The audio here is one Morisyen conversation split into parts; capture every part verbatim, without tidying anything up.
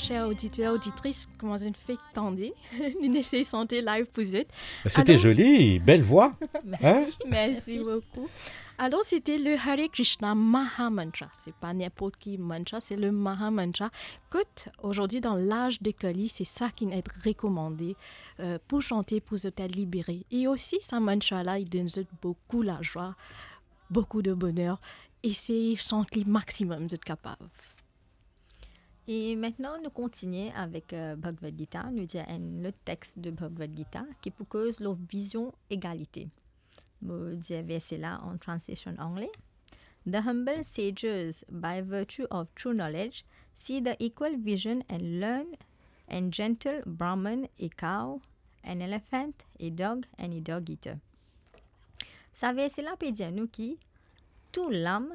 Cher oditer, oditris, kouma zot finn fek tande, nou inn esey sante live pou zot. C'était joli, belle voix. Hein? Merci. Merci beaucoup. Alors, c'était le Hare Krishna Maha Mantra. C'est pas n'importe qui mantra, c'est le Maha Mantra. Kot, aujourd'hui, dans l'âge de Kali, c'est ça qui est recommandé, euh, pour chanter, pour se libérer. Et aussi, sa mantra-là, il donne beaucoup la joie, beaucoup de bonheur. Essayez chanter maximum, zot kapav. E aster, nou kontigne avek, euh, Bhagavad Gita. Nou dir enn lot text de Bhagavad Gita ki pou koz lor vizion egalite. Mo dir verse la an translation angle. The humble sages, by virtue of true knowledge, see the equal vision and learn, and gentle Brahman a cow, an elephant a dog, and a dog eater. Sa verse la pe dir nou ki tou lam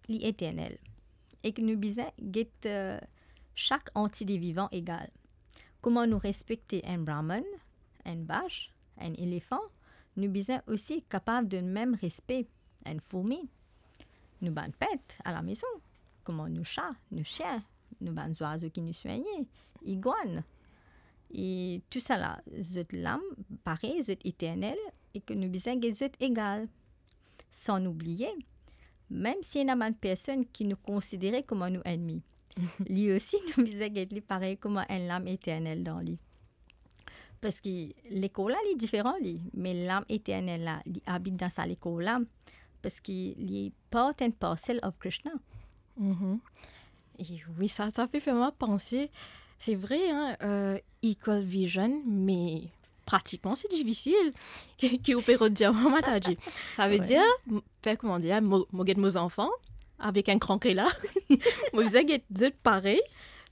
li eternel e ki nou bizin get, euh, sak antite vivan egal. Kouma nou respekte enn Brahman, enn bach, enn elefan, nou bizin osi kapav donn mem respe enn fourmi. Nou bann pet a lamezon, kouma nou sa, nou sien, nou bann zwazo ki nou swegne, igwann. E tousala, zot lam parey, zot eternel, e ki nou bizin get zot egal. San nou bliye, mem si ena bann personn ki nou konsidere kouma nou ennmi, li osi nou bizin get li parey kouma enn lam eternel dan li. Parski lekor la, li diferan li, me lam eternel la, li abit dan sa lekor la, parski li part and parcel of Krishna. Mhm. E wi, sa, sa pe fer mwa panse, se vre, hein, euh, equal vision, me pratikman, se difisil ki, ki ou pe rod dir mwa, Mataji. Sa ve dir, m-, fer kouma dir, mo, mo get mo zanfan avek enn gran kre la, mo bizin get zot parey,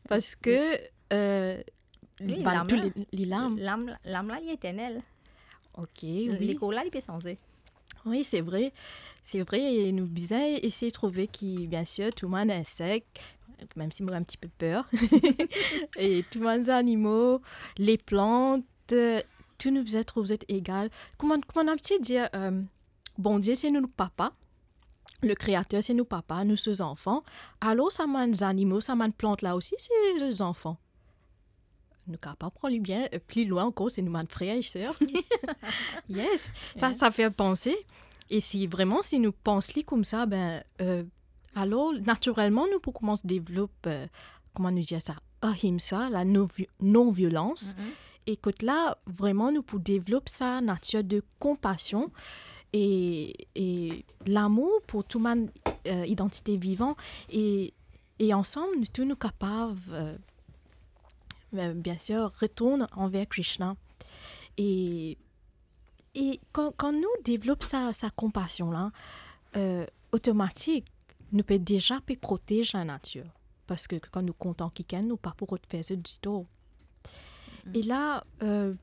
parski, euh, li, wi, bann lam tou la, li, li lam. Lam, lam la, li eternel. Ok, wi. Lekor la, li pe sanze. Wi, se vre. Se vre, e nou bizin esey trouve ki, bien sir, tou bann insek, mem si mo enn tipe per, e tou bann zanimo, leplant, tou nou bizin trouv zot egal. Kouma, kouma nou ti dir, euh, Bondie se nou papa, le Créateur se nou papa, nou so zanfan. Alor, sa bann zanimo, sa bann plant la osi, se zanfan. Nou kapav pran li bien, euh, pli lwin ankor, se nou bann frer e ser. Yes, sa, yeah, sa fer panse. E si vreman, si nou pans li koumsa, ben, euh, alor, natirelman, nou pou koumans devlop, euh, kouma nou dir sa, ahimsa, la non-vi-, non-violans. Mhm. E kot la, vreman, nou pou devlop sa natir de konpasion e, e lamour pou tou bann, euh, idantite vivan. E, e ansam, nou tou, nou kapav, euh, euh, bien sir, retourn anver Krishna. E, e kan, kan nou devlop sa, sa konpasion la, euh, otomatik, nou pe deza pe protez lanatir. Parski kan nou kontan kikenn, nou pa pou rod fer zot ditor. Mm. E la, euh,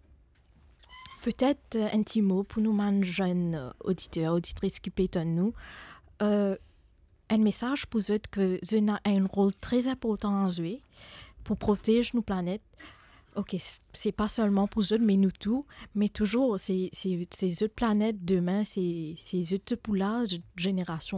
petet, euh, enn ti mo pou nou bann zenn, euh, oditer, oditris ki pe tann nou. Euh, enn mesaz pou zot ki zot ena enn rol tre inportan a zwe pou protez nou planet. Ok, s-, se pa selman pou zot, me nou tou, me touzour, se, se, se zot planet demin, se, se zot pou la, zot zenerasion